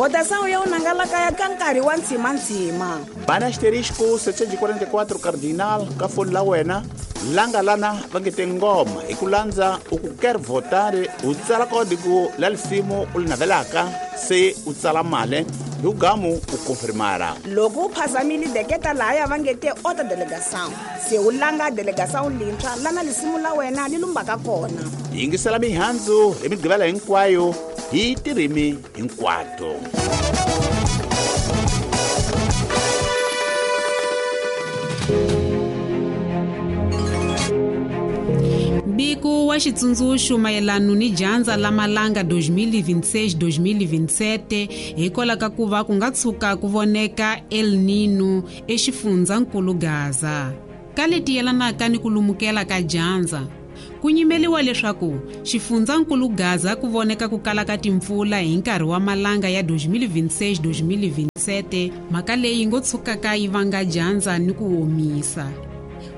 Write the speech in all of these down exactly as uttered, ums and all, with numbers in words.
Votação ya unangalaka ya ka nkarhi wa ntshimantsima. Bana asterisco setecentos e quarenta e quatro cardinal ka foni la wena langa lana va nge te ngoma hi ku landza u ku quer votar u tsala código la lisimu u li navelaka se u tsala mali hi ugamu u confirmara. Loko u phazamile deketa lahaya va nge te outra delegação se u langa delegação lintshwa lana lisimu la wena li lumbaka kona. Yingisela mihandzu hi migqivela hinkwayo hi tirimi hinkwato. Mbiko wa xitsundzuxo mayelana ni dyandza la malanga dois mil e vinte e seis dois mil e vinte e sete hikwalaho ka ku va ku nga tshuka ku voneka El Nino exifundzankulu Gaza. Ka leti yelanaka ni ku lumukela ka dyandza, ku nyimeliwa leswaku xifundzankulu Gaza ku voneka ku kala ka timpfula hi nkarhi wa malanga ya dois mil e vinte e seis dois mil e vinte e sete, mhaka leyi ngo tshukaka yi vanga dyandza ni ku omisa.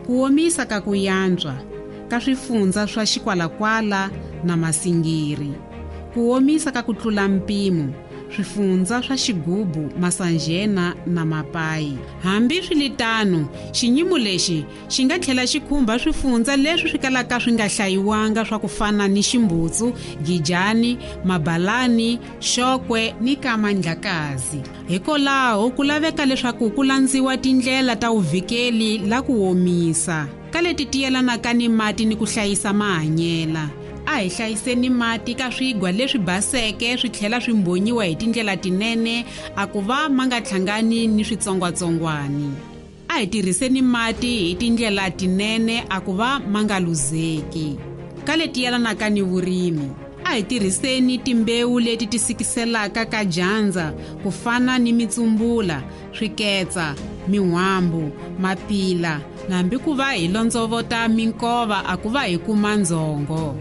Ku omisa ka ku yantswa ka swifundza swa Xikwalakwala na Masingiri. Ku omisa ka ku tlula mpimo swifundza swa Xigubu, Masanjena na Mapai. Hambi swiritano, xinyimo lexi xi nga tlhela xi khumba swifundza leswi swi kalaka swi nga hlayiwanga swa ku fana ni Ximbutsu, Gijani, Mabalani, Xokwe ni Kamandlakazi. Hikwalaho ku laveka leswaku ku landziwa tindlela ta vuvikeli la ku omisa ka leti ti yelanaka ni mati ni ku hlayisa mahanyela. A hi hlayiseni mati ka swigwa leswi baseke swi tlhela swi mbonyiwa hi tindlela tinene a ku va ma nga hlangani ni switsongwatsongwani. A hi tirhiseni mati hi tindlela tinene a ku va ma nga luzeki. Ka leti yelanaka ni vurimi, a hi tirhiseni timbewu leti ti sikiselaka ka dyandza ku fana ni mitsumbula, swiketsa, min'wambu, mapila, hambi ku va hi londzovota minkova a ku va hi kuma ndzhongo.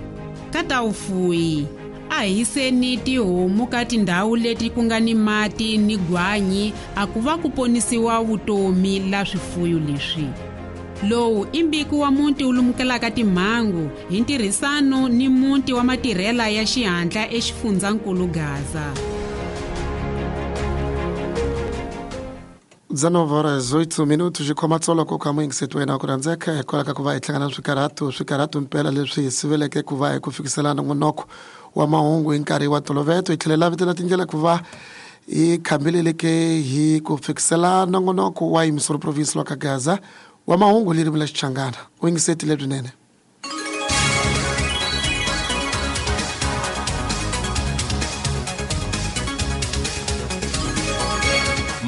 Ka ta vufuwi, a hi yiseni tihomu ka tindhawu leti ku nga ni mati ni gwanyi a ku va ku ponisiwa vutomi la swifuyo leswi. Lowu i mbiko wa muti wu lumukelaka timhangu hi ntirhisano ni muti wa matirhela ya xihatla exifundzankulu Gaza. dezenove horas oito minutos de komatsolo ko ka muyingiseti wena ku rhandzeka hikwalaho ka ku va hi hlangana na swikarhato swikarhato mpela leswi hi siveleke ku va hi ku fikisela nongonoko wa mahungu hi nkarhi wa toloveto. Hi tlhela lavitela tindlela ku va hi khambileleke hi ku fikisela nongonoko wa Missouri Province lwa ka Gaza wa mahungu ririmi la Xichangana. U yingiseti lebyinene.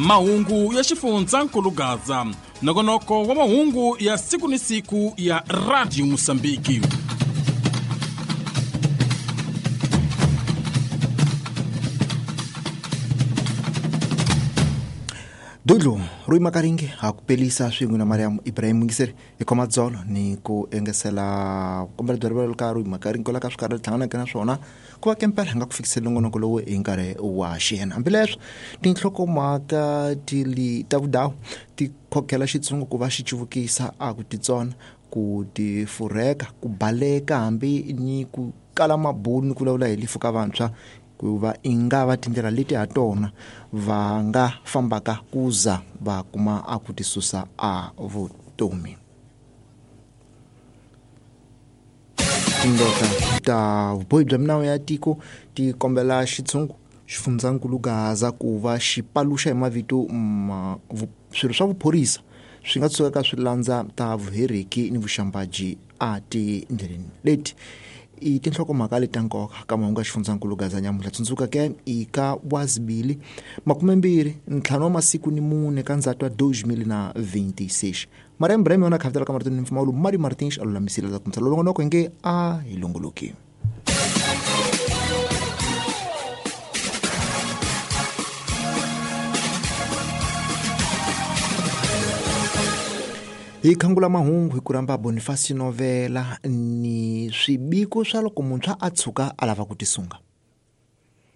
Mahungu ya xifundzankulu Gaza, nongonoko wa mahungu ya siku ni siku ya Radio Mosambiki. Dudlu Rui Makaringe ha ku pelisa swin'we na Mariam Ibrahim Mungiseri hi khoma dzolo ni ku engesela kombela bya rivalo ka Rui Makaringe kwala ka swikarhi hlanganaka na swona ku va kempela hi nga ku fikiseli nongonoko lowu hi nkarhi wa xiyena. Hambileswi tinhlokomhaka ti li ta vudawu ti khokhela xitshungu ku va xi cuvukisa a ku titsona ku tifurheka ku baleka hambi ni ku kala mabulu ni ku vulavula hi lifu ka vantshwa ku va i nga va tindlela leti ha tona va nga fambaka kuza va kuma a ku tisusa a vutomi. Tindota ta vubohi bya minawu ya tiko ti kombela xitshungu xifundzankulu Gaza ku va xi paluxa hi mavito ma swilo swa vuphorisa swi nga tsukaka swi landza ta vuheriki ni vuxambaji a tindleleni leti. I tinhlokomhaka leti ta nkoka ka mahungu ya xifundzankulu Gaza nyamuntlha. Tsundzuka ke i ka wazibili makumembirhi ntlhanu wa masiku ni mune ka ndzhato wa dois mil na vinte e seis. Mariam Ibrahim yona khavitela ka marito ni mpfumawulo Mari Martins a lulamisile ta kumisa lolongonoko hi nge a hi longoloki. Hi khangula mahungu hi ku rhamba Boniface Novela ni swibiko swa loko muntshwa a tshuka a lava ku tisunga.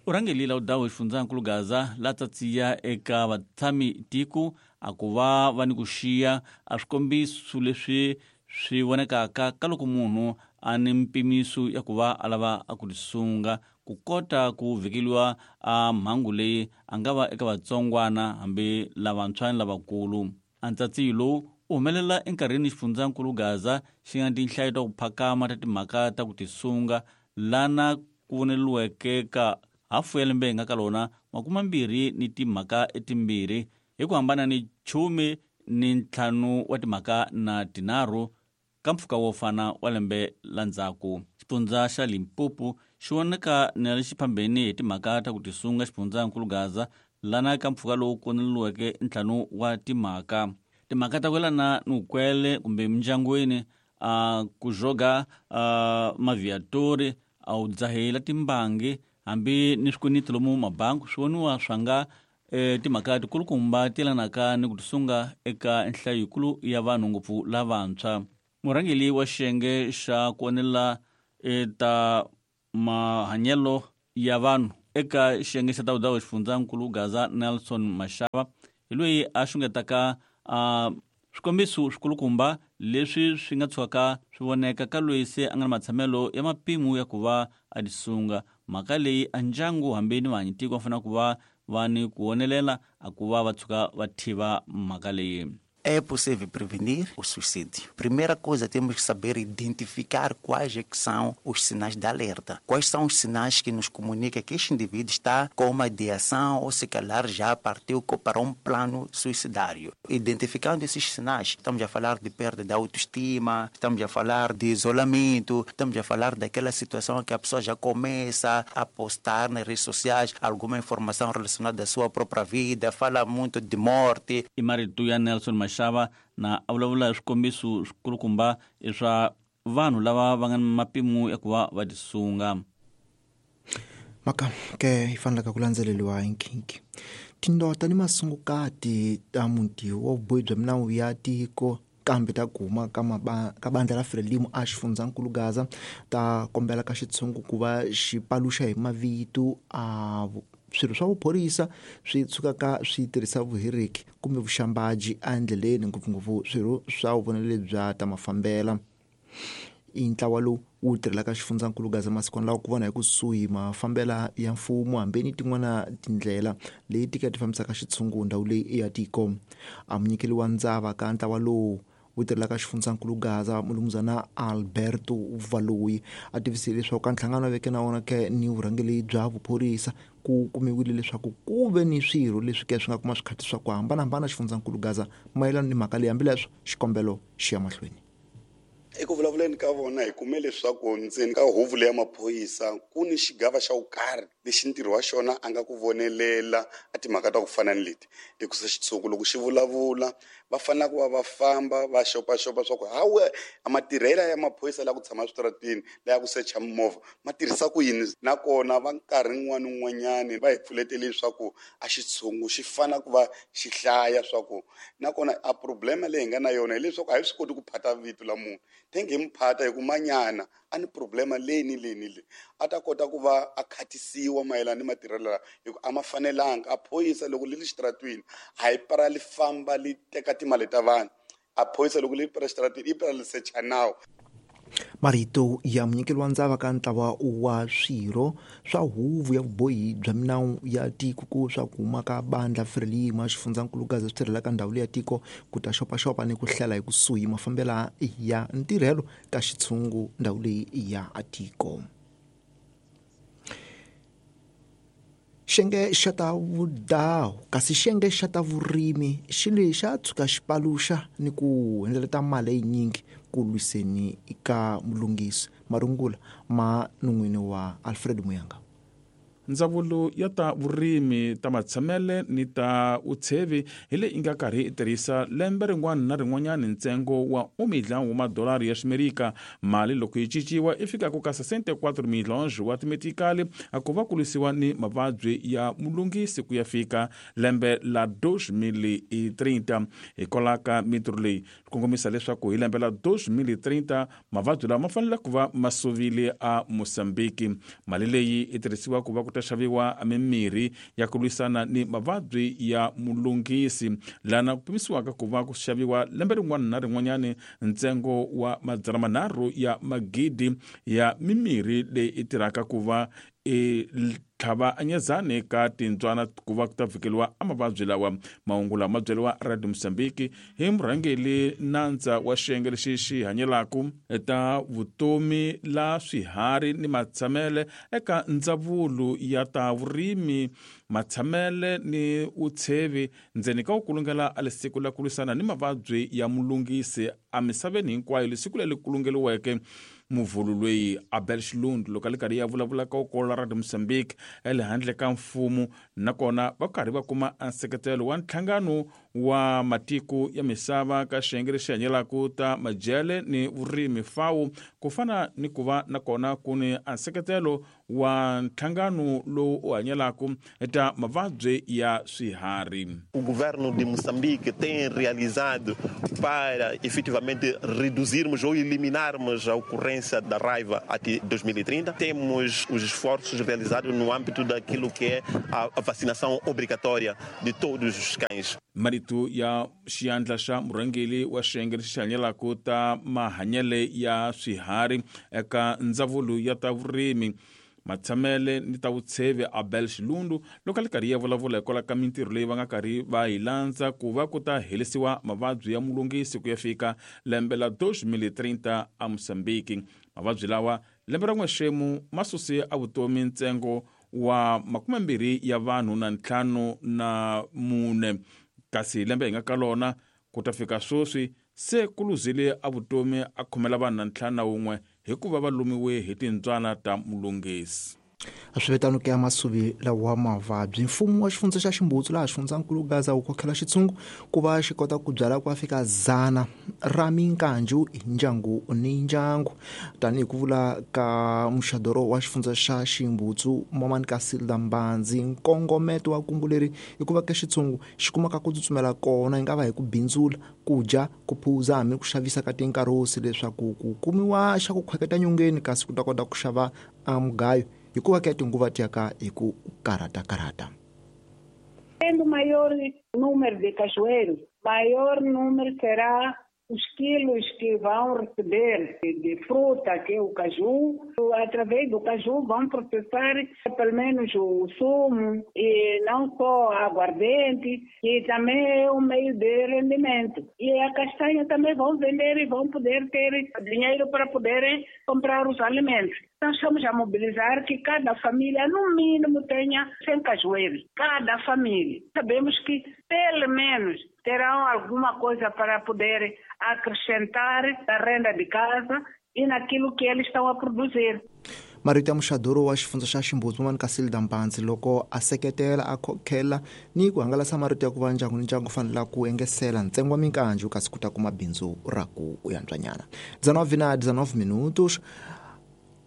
U rhangelile udawu xifundzankulu Gaza la tsatsiya eka vatshami tiko a ku va va ni ku xiya a swikombiso leswi swi vonekaka ka loko munhu a ni mpimiso ya ku va a lava a ku tisunga ku kota ku vhikeliwa a mhangu leyi a nga va eka vatsongwana hambi lavantshwa ni lavakulu. A ntsatsiyo lowu u humelela enkarhini xifundzankulu Gaza xi nga tinhlayo ta ku phakama ta timhaka ta ku tisunga lana ku voneliweke ka hafu ya lembe hi nga ka lona makumambirhi ni timhaka etimbirhi hi ku hambana ni chumi ni ntlhanu wa timhaka na tinharhu ka mpfhuka wo fana wa lembe la ndzhaku. Xifundza xa Limpopo xi voneka na le xiphambeni hi timhaka ta ku tisunga xifundzankulu Gaza lana ka mpfhuka lowu koneliweke ntlhanu wa timhaka. Timhaka ta ku yelana ni vukwele kumbe mindyangwini, a ku joga a maviatori, a wu dzahela timbangi hambi ni swikweleti lomu mabangi swi voniwa swa nga e, timhaka tikulukumba ti yelanaka ni ku tisunga eka nhlayo yikulu ya vanhu ngopfu lavantshwa. Murhangeri wa xiyenge xa ku onela ta mahanyelo ya vanhu eka xiyenge xa ta vudawu xifundzankulu Gaza Nelson Mashaba hi loyi a xungetaka a swikombiso swikulukumba leswi swi nga tshukaka swi voneka ka loyi se a nga na matshamelo ya mapimo ya ku va a tisunga. Mhaka leyi a ndyangu hambi ni vahanyitiko va fanele ku va va ni ku vonelela a ku va va tshuka va tiva mhaka leyi. É possível prevenir o suicídio. Primeira coisa, temos que saber identificar quais é que são os sinais de alerta. Quais são os sinais que nos comunicam que este indivíduo está com uma ideação ou se calhar já partiu para um plano suicidário. Identificando esses sinais, estamos a falar de perda de autoestima, estamos a falar de isolamento, estamos a falar daquela situação que a pessoa já começa a postar nas redes sociais alguma informação relacionada à sua própria vida, fala muito de morte. E marito ya Nelson Mashaba na a vulavula hi swikombiso swikulukumba swa vanhu lava va nga ni mapimo ya ku va va tisunga. Mhaka ke yi fanelaka ku landzeleriwa hi nkhinkhi. Tindota ni masungukati ta muti wa vubohi bya minawu ya tiko kambe ta kuma ka maba ka bandla ra Frelimo a xifundzankulu Gaza ta kombela ka xitshungu ku va xi paluxa hi mavito a swirho swa vuphorisa swi tshukaka swi tirhisa vuheriki kumbe vuxambaji endleleni, ngopfungopfu swirho swa vuvonele bya ta mafambela. I ntlawa lowu wu tirhelaka xifundzankulu Gaza masikwana lawa ku vona hi kusuhi mafambela ya mfumo hambi ni tin'wana tindlela leti ka ti fambisaka xitshungu ndhawu leyi ya tiko. A munyikeli wa ndzava ka ntlawa lowu wu tirhelaka xifundzankulu Gaza mulumuzana Alberto Valoyi a tivisile leswaku ka nhlangano wa veke na wona ke ni vurhangeri bya vuphorisa ku kumiwile leswaku ku ve ni swirho leswi ke swi nga kuma swikhati swa ku hambanahambana xifundzankulu Gaza mayelana ni mhaka leyi, hambileswo xikombelo xi ya mahlweni. Eku vulavuleni ka vona hi kume leswaku ndzeni ka huvo leya maphorisa ku ni xigava xa vukarhi lexi ntirho wa xona a nga ku vonelela a timhaka ta ku fana ni leti. Hikusa xitshungu loko xi vulavula va fanele ku va va famba va xopaxopa swa ku hawe a matirhela ya maphorisa la ku tshama switarateni la ya ku secha mimovha ma tirhisa ku yini, nakona va nkarhi wun'wana wun'wanyani va hi pfuletele leswaku a xitshungu xi fanele ku va xi hlaya swa ku nakona a problema leyi hi nga na yona hileswaku a hi swi koti ku phata vito la munhu tenge hi muphata hi ku manyana a ni problema leyi ni leyi ni leyi a ta kota ku va a khatisiwa mayelana ni matirhelo lawa hi ku a ma fanelanga. A phorisa loko li ri xitaratwini a yi para li famba li teka timali ta vanhu, a phorisa loko li para xitaratwini i para li secha nawu. Marito ya munyikeli wa ndzava ka ntlawa wa swirho swa huvo ya vubohi bya minawu ya tiko ku swa ku huma ka bandla Frelimo a xifundzankulu Gaza swi tirhelaka ndhawu leyi ya tiko ku ta xopaxopa ni ku hlela hi kusuhi mafambela ya ntirhelo ka xitshungu ndhawu leyi ya tiko. Xiyenge xa ta vudawu kasi xiyenge xa ta vurimi xi le xa tshuka xi paluxa ni ku hundzeleta mali yinyingi ku lwiseni ka mulunghisi. Marungula ma non'wini wa Alfred Muyanga. Ndzawulo ya ta vurimi ta matshamele ni ta vutshevi hi leyi yi nga karhi yi tirhisa lembe rin'wana na rin'wanyana ntsengo wa un milhão wa madolari ya ximerika. Mali loko yi cinciwa i fikaka ka sessenta e quatro milhões wa timetikali a ku va ku lwisiwa ni mavabyi ya mulunghisi ku ya fika lembe la dois mil e trinta. Hikwalaho ka mintirho leyi swi kongomisa leswaku hi lembe la dois mil e trinta mavabyi lawa ma fanele ku va ma suvile a Mozambique. Mali leyi yi tirhisiwa ku va ku ta xaviwa mimirhi ya ku lwisana ni mavabyi ya mulunghisi, lana ku pimisiwaka ku va ku xaviwa lembe rin'wana na rin'wanyani ntsengo wa madzana manharhu ya magidi ya mimirhi leyi yi tirhaka ku va e tlhava anyezani ka tintswana ku va ku ta vhikeliwa a mavabyi lawa. Mahungu lama byeriwa Radio Mozambique hi murhangeli nandza wa xiyenge lexi xi hanyelaka ta vutomi la swiharhi ni matshamele eka ndzawulo ya ta vurimi, matshamele ni utshevi ndzeni ka ku kulungela a lesiku la ku lwisana ni mavabyi ya mulungisi emisaveni hinkwayo, lesiku leri kulungeliweke muvhulu loyi Abel Xilundu loko a li karhi ya vulavula ka ukolo la Radio Mozambique ele handle ka mfumo, nakona va karhi va kuma nseketelo wa nhlangano wa matiko ya misava ka xiyenge lexi hanyelaka ta madyele ni vurimi FAO, ku fana ni ku va nakona ku ni nseketelo wa nhlangano lowu u hanyelaka ta mavabyi ya swiharhi. O governo de Moçambique tem realizado para efetivamente reduzirmos ou eliminarmos a ocorrência da raiva até dois mil e trinta. Temos os esforços realizados no âmbito daquilo que é a vacinação obrigatória de todos os cães. Marito ya xiyandla xa murhangeli wa xiyenge lexi hanyelaka ta mahanyele ya swiharhi eka ndzawulo ya ta vurimi, matshamele ni ta vutshevi Abel Xilundu loko a li karhi ya vulavula hikwalaho ka mintirho leyi va nga karhi va yi landza ku va ku ta herisiwa mavabyi ya mulungisi ku ya fika lembe la dos mil e trinta a Mozambique. Mavabyi lawa lembe ra n'wexemu ma suse a vutomi ntsengo wa makume mbirhi ya vanhu na ntlhanu na mune, kasi lembe hi nga ka lona ku ta fika sweswi se ku luzile a vutomi a khomela vanhu na ntlhanu na wun'we hikuva va lumiwe hi tintswana ta mulungisi. A swi vitano ke ya masuvi lawa mavabyi. Mfumo wa xifundza xa Ximbutsu laha xifundzankulu Gaza wu khokhela xitshungu ku va xi kota ku byala ku fika dzana ra minkanju hi ndyangu ni ndyangu, tanihi ku vula ka muxadoro wa xifundza xa Ximbutsu Momani Kasilda Mbanzi. Nkongometo wa kungu leri i ku va ke xitshungu xi kumaka ku tsutsumela kona, yi nga va hi ku bindzula, ku dya, ku phuza hambi ku xavisa ka tinkarosi leswaku ku kumiwa xa ku khweketa nyongeni, kasi ku ta kota ku xava a mugayo hikuva ke tinguva ti ya ka hi ku karata-karata. Tendo maior número de cajueiros, maior número será os quilos que vão receber de fruta, que é o caju. Através do caju vão processar pelo menos o sumo e não só a aguardente, que também é um meio de rendimento. E a castanha também vão vender e vão poder ter dinheiro para poderem comprar os alimentos. Nós estamos a mobilizar que cada família, no mínimo, tenha cem cajueiros. Cada família. Sabemos que, pelo menos, terão alguma coisa para poder acrescentar na renda de casa e naquilo que eles estão a produzir. Marito ya muxadoro wa xifundza xa Ximbutsu Momani Kasilda Mbanzi loko a seketela a khokhela ni ku hangalasa marito ya ku va ndyangu ni ndyangu fanela ku engesela ntsengo wa minkanju kasi ku ta kuma bindzu ra ku yantswanyana. dezenove na dezenove minutos.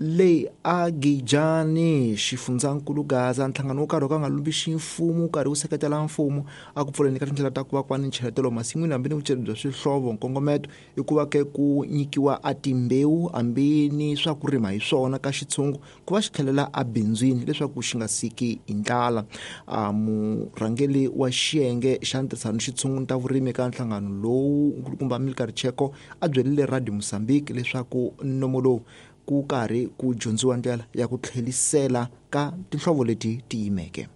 Leyi a Gijani xifundzankulu Gaza nhlangano wo karhi wo ka nga lumbi ximfumo wu karhi wu seketela mfumo a ku pfuleni ka tindlela ta ku va ku va ni ncheletelo masin'wini hambi ni vuceri bya swihlovo. Nkongometo i ku va ke ku nyikiwa a timbewu hambi ni swa ku rima hi swona ka xitshungu ku va xi tlhelela ebindzwini leswaku xi nga siki hi ndlala. A murhangeli wa xiyenge xa ntirhisano xitshungu ta vurimi ka nhlangano lowu nkulukumba Milkar Cheko a byerile Radio Mozambique leswaku nomo lowu ku karhi ku dyondziwa ndlela ya ku tlhelisela ka tinhlovo leti ti yimeke.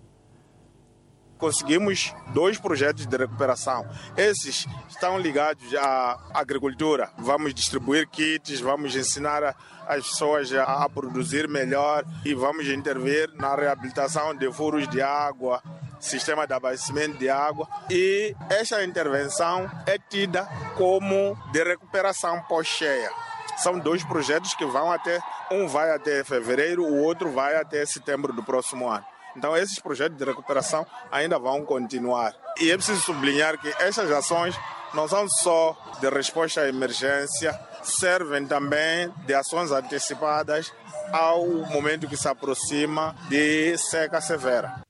Conseguimos dois projetos de recuperação. Esses estão ligados à agricultura. Vamos distribuir kits, vamos ensinar as pessoas a produzir melhor e vamos intervir na reabilitação de furos de água, sistema de abastecimento de água. E esta intervenção é tida como de recuperação pós-cheia. São dois projetos que vão até, um vai até fevereiro, o outro vai até setembro do próximo ano. Então, esses projetos de recuperação ainda vão continuar. E é preciso sublinhar que estas ações não são só de resposta à emergência, servem também de ações antecipadas ao momento que se aproxima de seca severa.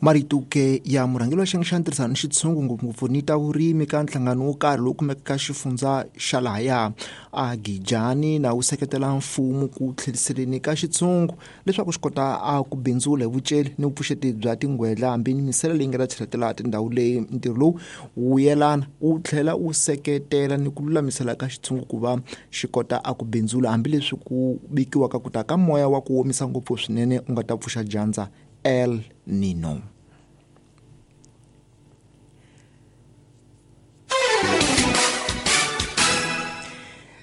Marito ke ya murhangeri wa xiyenge xa ntirhisano ni xitshungu ngopfungopfu ni ta vurimi ka nhlangano wo karhi lowu kumekaka ka xifundza xa lahaya a Gijani na wu seketela mfumo ku tlheriseleni ka xitshungu leswaku xi kota a ku bindzula hi vuceli ni vupfuxeti bya tingwedla hambi ni misele leyi nga ta cheletela tindhawu leyi. Ntirho lowu wu yelana wu tlhela wu seketela ni ku lulamisela ka xitshungu ku va xi kota a ku bindzula hambileswi ku bikiwaka ku ta ka moya wa ku omisa ngopfu swinene u nga ta pfuxa dyandza El Nino.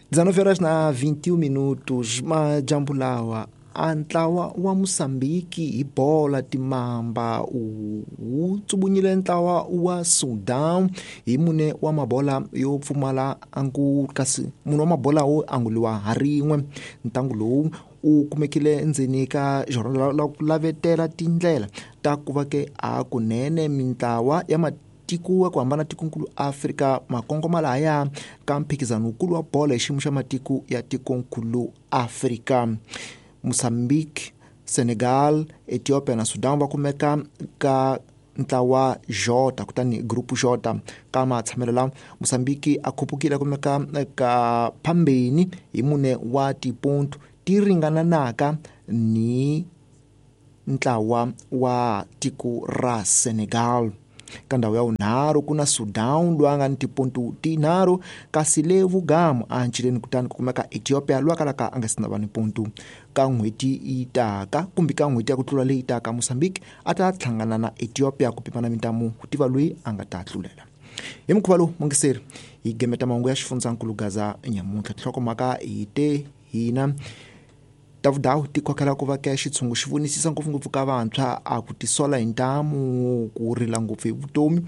dezenove horas na vinte e um minutos, majambu lawa a ntlawa wa Mozambique hi bola timamba wu tsubunyile ntlawa wa Sudan hi mune wa mabola yo pfumala angu kasi mune wa mabola wo anguliwa ha rin'we. Ntangu lowu u kumekile endzeni ka jornal la ku lavetela tindlela ta ku va ke a kunene mintlawa ya matiko ya ku hambana tikonkulu Afrika makongoma lahaya ka mphikizano wukulu wa bolo hi xiyimo xa matiko ya tikonkulu Afrika. Mozambique, Senegal, Ethiopia na Sudan va kumeka ka ntlawa J kutani grupu J ka matshamelo lawa. Mozambique a khupukile kumeka ka phambeni hi mune wa tiponto ti ringananaka ni ntlawa wa tiko ra Senegal. Ka ndhawu ya vunharhu ku na Sudan loyi a nga ni tiponto tinharhu kasi le vugamu a ncileni kutani ku kumeka Ethiopia loyi a kalaka a nga si na va ni ponto. Ka n'hweti yi taka kumbe ka n'hweti ya ku tlula leyi taka Mozambique a ta hlangana na Ethiopia ku pimana mintamu ku tiva loyi a nga ta tlulela. Hi mukhuva lowu mungiseri hi gemeta mahungu ya xifundzankulu Gaza nyamuntlha. Tinhlokomhaka hi te hina Davudawu ti khokhela ku va ke xitshungu xi vonisisa ngopfungopfu ka vantshwa a ku tisola hi ntamu ku rila ngopfu hi vutomi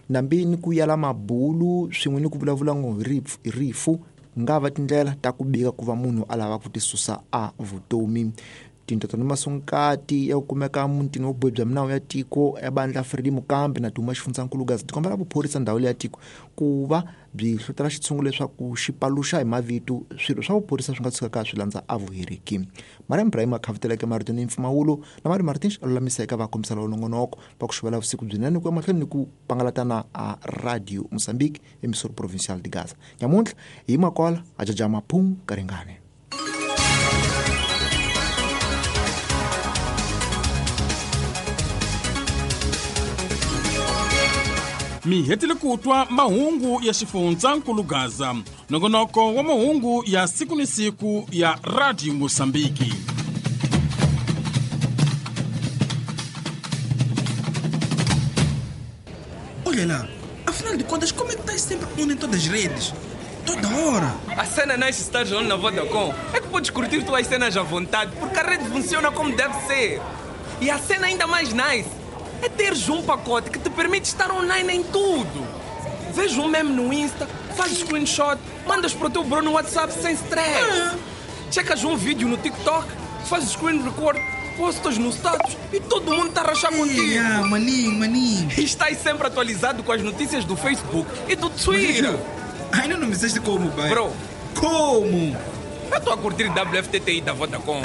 nambi ni ku yala mabulu swin'we ni ku vulavula ngo hi rifu hi rifu nga va tindlela ta ku bika ku va munhu a lava ku tisusa a vutomi. Tintoto ni masungukati ya ku kumeka mutini wa vubohi bya minawu ya tiko ya bandla Fredi Mukambi na Duma xifundzankulu Gaza ti kombela vuphorisa ndhawu leyi ya tiko ku va byi hlotela xitshungu leswaku xi paluxa hi mavito swilo swa vuphorisa swi nga tshukaka swi landza a vuheriki. Mariam Ibrahim a khaviteleke marito ni mpfumawulo na Mari Martins a lulamisa eka vakombisa lava nongonoko va ku xuvela vusiku byinene ku ya mahlweni ni ku pangalatana a Radio Mozambique emisoro provincial de Gaza. Nyamuntlha hi makola a jaja maphung karingane. Mi hetile ku twa mahungu ya xifundzankulu Gaza, nongonoko wa mahungu ya siku ni siku ya Radio Mozambique. Olha lá, afinal de contas, como é que estás sempre on em todas as redes? Toda hora! A cena nice estar on na Vodacom é que podes curtir tuas cenas à vontade, porque a rede funciona como deve ser. E a cena ainda mais nice é teres um pacote que te permite estar online em tudo. Vês um meme no Insta, fazes screenshot, mandas para o teu bro no WhatsApp sem stress. Ah. Checas um vídeo no TikTok, fazes screen record, postas no status e todo mundo está a rachar contigo. Yeah, maninho, maninho. E estás sempre atualizado com as notícias do Facebook e do Twitter. Mas, ainda não me disseste como, pai. Bro. Como? Eu estou a curtir W F T T I da Vodacom.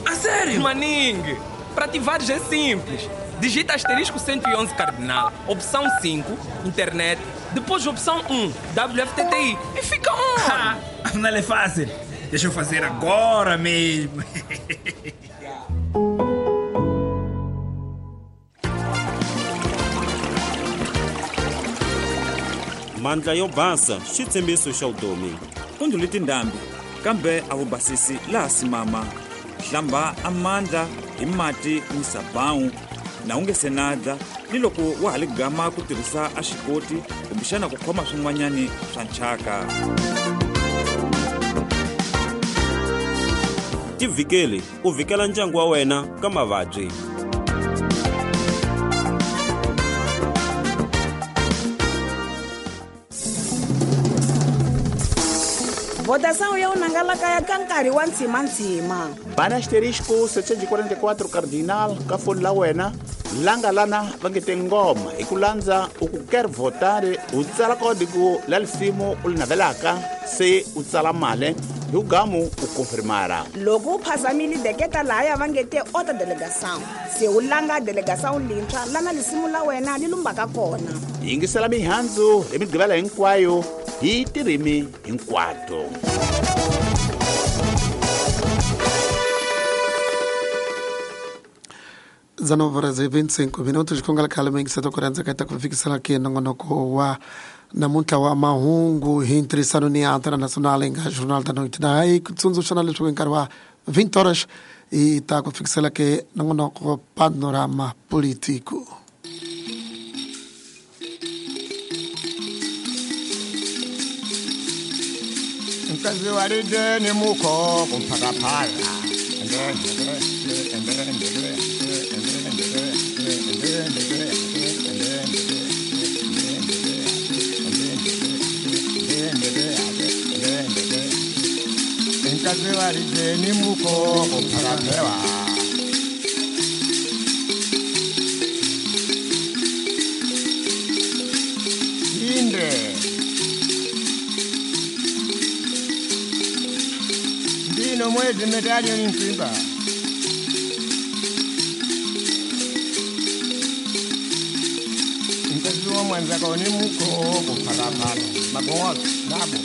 A sério? Maninho, para ativares é simples. Digita asterisco cento e onze cardinal, opção cinco, internet, depois opção um, W F T T I e fica on! Afinal é fácil. Deixa eu fazer agora mesmo. Mandla yo basa xitshembiso xa vutomi. Ku ndlule tindhambi kambe a wu basisi laha simama. Hlamba amandla hi mati ni sabawu na u nge se na dla ni loko wa ha li gama ku tirhisa a xikoti kumbexana ku khoma swin'wanyani swa nchaka. Tivhikeli u vhikela ndyangu wa wena ka mavabyi. Votação ya unangalaka ya ka nkarhi wa ntsimantsima. Bana asterisco setecentos e quarenta e quatro cardinal ka foni la wena langa lana va nge te ngoma hi ku landza u ku quer votar u tsala código la lisimu u li navelaka se u tsala mali Hi ugamu u confirmara. Loko u phazamile deketa laya va nge te ota delegação. Se u langa delegação lintshwa lana lisimu la wena li lumbaka kona. Yingisela mihandzu hi Migqivela hinkwayo hi tirimi hinkwato. dezenove horas e vinte e cinco minutos com a calma em que se tocorando que tá com fixar aqui nongonoko wa namuntlha wa mahungu hi ntirhisano ni Antena Nacional nga Jornal da Noite na aí tsundzuxana leswaku nkarhi wa vinte horas e tá com fixar aqui nongonoko panorama político. Nkazi walideni muko kumphakaphala Nkazi walideni muko kumphakaphewa. Inde Ndino mwezi medalio ni msimba. Nkazi wa mwanzako ni muko kumphakaphala. Magongo nabo.